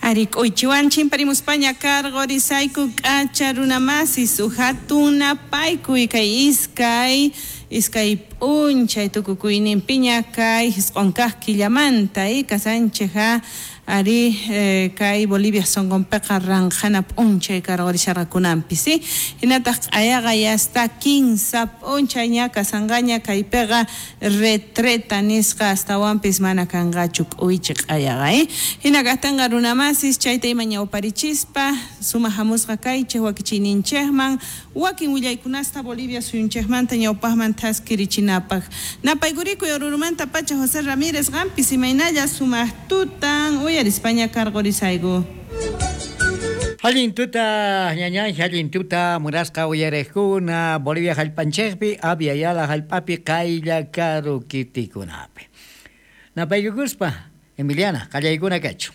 Ari k'uychiwan chimparimuspaña karqorisayku k'acha runamasis hatun napaykuy kay iskay p'unchay tukukuyninpiña kay jisq'on kaq killamanta kasanchej ari kay Bolivia sonqonpiqa ranqhana p'unchay karqorisharqakunanpis hinataq q'ayaqa yasta 15 p'unchay ña kasanqaña kaypiqa retreta nisqa astawanpis mana kanqachu k'uychi q'ayaqa hina kaqtinqa runamasis chayta ima ñawparichispa sumaq hamusqa kaychej wakichiyninchejman wakin willaykunasta Bolivia suyunchejmanta ñawpaqman thaskirichinapaq napaykurikuy Orurumanta pacha José Ramírez qampis imaynalla sumaq tutan uyarispaña karqurisayku. Allin tuta ñañay, allin tuta munasqa uyariqkuna Bolivia hallp'anchikpi Abya Yala hallp'api qaylla karu kitikunapi. Napaykukuspa Emiliana qallaykuna kachu.